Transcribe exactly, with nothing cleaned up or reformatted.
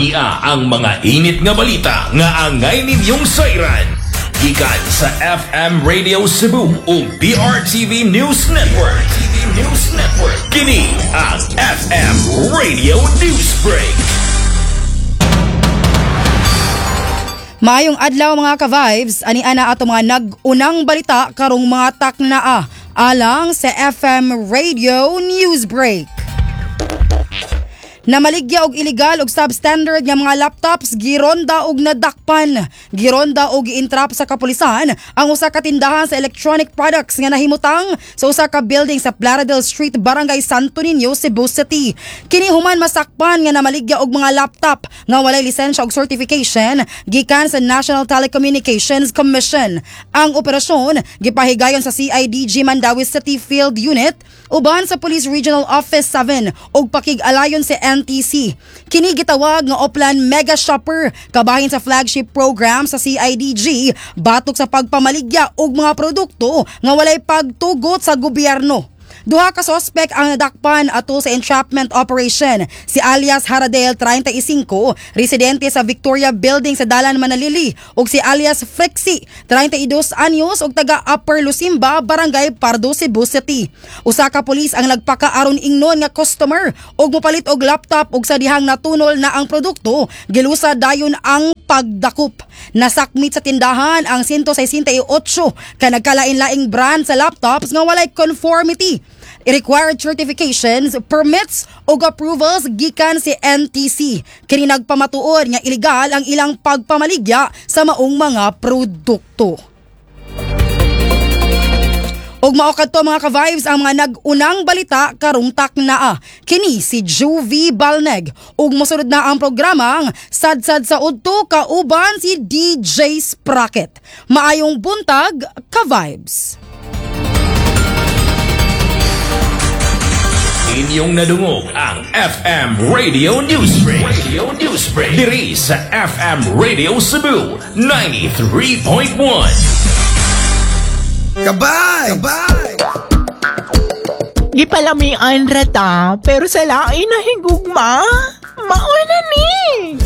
Ania ang mga init nga balita nga angay ninyong sayran. Gikan sa F M Radio Cebu ug B R T V News Network. T V News Network. Kini ang F M Radio News Break. Maayong adlaw, mga ka-vibes, ani ana ato mga nag-unang balita karong mga taknaa alang sa F M Radio News Break. Namaligya og illegal og substandard nga mga laptops, gironda og nadakpan. Gironda og giintrap sa kapulisan ang usa ka tindahan sa electronic products nga nahimutang sa usa ka building sa Plaridel Street, Barangay Santo Niño, Cebu City. Kini human masakpan nga namaligya og mga laptop nga walay lisensya og certification gikan sa National Telecommunications Commission. Ang operasyon gipahigayon sa C I D G Mandaue City Field Unit uban sa Police Regional Office seven ug pakig-alayon sa N T C. Kini gitawag nga Oplan Mega Shopper kabahin sa flagship program sa C I D G batok sa pagpamaligya og mga produkto nga walay pagtugot sa gobyerno. Duha ka sospek ang nadakpan ato sa entrapment operation. Si alias Haradel, treinta y singko, residente sa Victoria Building sa Dalan Manalili, ug si alias Frixie, treinta y dos anyos ug taga Upper Lusimba, Barangay Pardo, Cebu City. Usa ka pulis ang nagpakaaron ingnon nga customer ug mopalit og laptop ug sa dihang natunol na ang produkto, gilusa dayon ang pagdakop. Nasakmit sa tindahan ang one hundred sixty-eight ka nagkalain-laing brand sa laptops nga walay conformity, required certifications, permits ug approvals gikan si N T C. Kini nagpamatuod nga ilegal ang ilang pagpamaligya sa maong mga produkto. Ug mao kadto, mga ka-vibes, ang mga nag-unang balita karong taknaa. Kini si Juvie Balneg ug mosunod na ang programang Sadsad sa Udto kauban si D J Sprocket. Maayong buntag, ka-vibes. Inyong nadungog ang F M Radio News Break. Radio News Break. Diri sa F M Radio Cebu ninety-three point one. Kabay! Kabay! Gipalamian rata, pero sa lain na higugma, mauna ni.